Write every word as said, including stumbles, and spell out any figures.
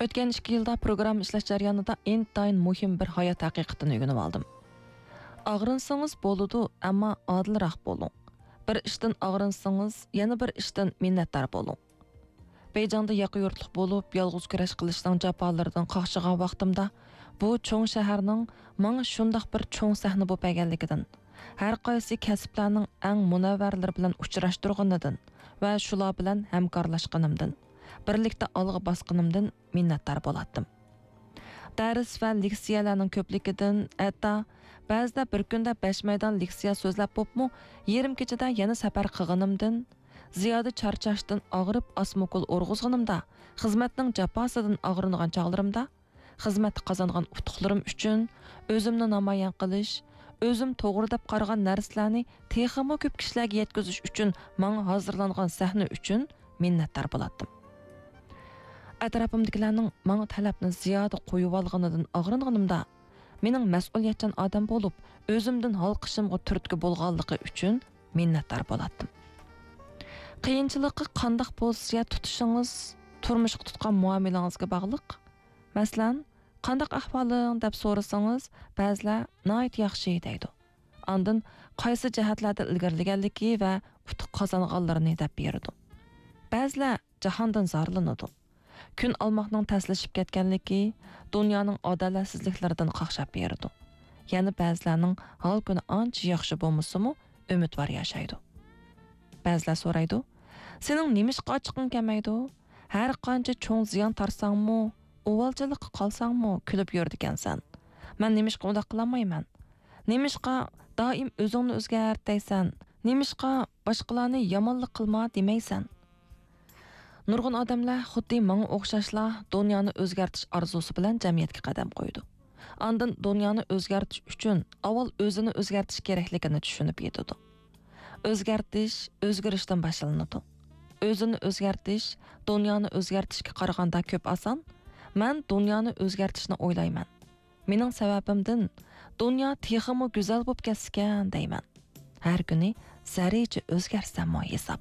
ئۆتكەن ئىككى يىلدا پروگرامما ئىشلەش جەريانىدا ئىنتايىن مۇھىم بىر ھايات ھەقىقىتىنى ئۆگىنىۋالدىم. ئاغرىنسىڭىز بولىدۇ، ئەمما ئادىلراق بولۇڭ. بىر ئىشتىن ئاغرىنسىڭىز، يەنە بىر ئىشتىن مىننەتدار بولۇڭ. بېيجىڭدا ياقا يۇرتلۇق بولۇپ، يالغۇز كۈرەش قىلىشنىڭ جاپالىرىدىن قاقشىغان ۋاقتىمدا، بۇ چوڭ شەھەرنىڭ ماڭا شۇنداق بىر چوڭ سەھنە بولۇپ بەرگەنلىكىدىن، ھەر قايسى كەسىپلەرنىڭ ئەڭ مۇنەۋۋەرلىرى بىلەن ئۇچراشتۇرغىنىدىن ۋە شۇلار بىلەن ھەمكارلاشقىنىمدىن، بىرلىكتە ئالغا باسقىنىمدىن مىننەتدار بولاتتىم. دەرس ۋە لېكسىيەلەرنىڭ كۆپلۈكىدىن، ھەتتا بەزىدە بىر كۈندە بەش مەيدان لېكسىيە سۆزلەپ بوپمۇ، يېرىم كېچىدە يەنە سەپەر قىلغىنىمدىن، زىيادە چارچاشتىن ئاغرىپ ئاسما ئوكۇل ئۇرغۇزغىنىمدا، خىزمەتنىڭ جاپاسىدىن ئاغرىنغان چاغلىرىمدا، خىزمەتتە قازانغان ئۇتۇقلىرىم ئۈچۈن، ئۆزۈمنى نامايان قىلىش، ئۆزۈم توغرا دەپ قارىغان نەرسىلەرنى تېخىمۇ كۆپ كىشىلەرگە يەتكۈزۈش ئۈچۈن ماڭا ھازىرلانغان سەھنە ئۈچۈن مىننەتدار بولاتتىم. ئەتراپىمدىكىلەرنىڭ ماڭا تەلەپنى زىيادە قويۇۋالغىنىدىن ئاغرىنغىنىمدا، مېنىڭ مەسئۇلىيەتچان ئادەم بولۇپ، ئۆزۈمدىن ھالقىشىمغا تۈرتكە بولغانلىقى ئۈچۈن مىننەتدار بولاتتىم. قىيىنچىلىققا قانداق پوزىتسىيە تۇتۇشىڭىز تۇرمۇشقا تۇتقان مۇئامىلىڭىزگە باغلىق. مەسىلەن، «قانداق ئەھۋالىڭ؟» دەپ سورىسىڭىز، بەزىلەر «ناھايىتى ياخشى» دەيدۇ. ئاندىن قايسى جەھەتلەردە ئىلگىرىلىگەنلىكى ۋە ئۇتۇق قازانغانلىرىنى دەپ بېرىدۇ. بەزىلەر جاھاندىن زارلىنىدۇ. كۈن ئالماقنىڭ تەسلىشىپ كەتكەنلىكى، دۇنيانىڭ ئادالەتسىزلىكلىرىدىن قاقشاپ بېرىدۇ. يەنە بەزىلەرنىڭ ھال-كۈنى ئانچە ياخشى بولمىسىمۇ، ئۈمىدۋار ياشايدۇ. بەزىلەر سورايدۇ، «سېنىڭ نېمىشقا ئاچچىقىڭ كەلمەيدۇ؟ ھەر قانچە چوڭ زىيان تارتساڭمۇ، ئۇۋالچىلىققا قالساڭمۇ، كۈلۈپ يۈرىدىكەنسەن. مەن نېمىشقا ئۇنداق قىلالمايمەن؟ نېمىشقا دائىم ئۆزۈڭنى ئۆزگەرت دەيسەن؟ نېمىشقا باشقىلارنى يامانلىق قىلما دېمەيسەن؟» نۇرغۇن ئادەملەر خۇددى ماڭا ئوخشاشلا دۇنيانى ئۆزگەرتىش ئارزۇسى بىلەن جەمئىيەتكە قەدەم قويىدۇ. ئاندىن دۇنيانى ئۆزگەرتىش ئۈچۈن ئاۋۋال ئۆزىنى ئۆزگەرتىش كېرەكلىكىنى چۈشىنىپ يېتىدۇ. ئۆزگەرتىش ئۆزگىرىشتىن باشلىنىدۇ. ئۆزىنى ئۆزگەرتىش دۇنيانى ئۆزگەرتىشكە قارىغاندا كۆپ ئاسان. مەن دۇنيانى ئۆزگەرتىشنى ئويلايمەن. مېنىڭ سەۋەبىمدىن دۇنيا تېخىمۇ گۈزەل بولۇپ كەتسىكەن دەيمەن. ھەر كۈنى زەررىچە ئۆزگەرسەممۇ ھېساب.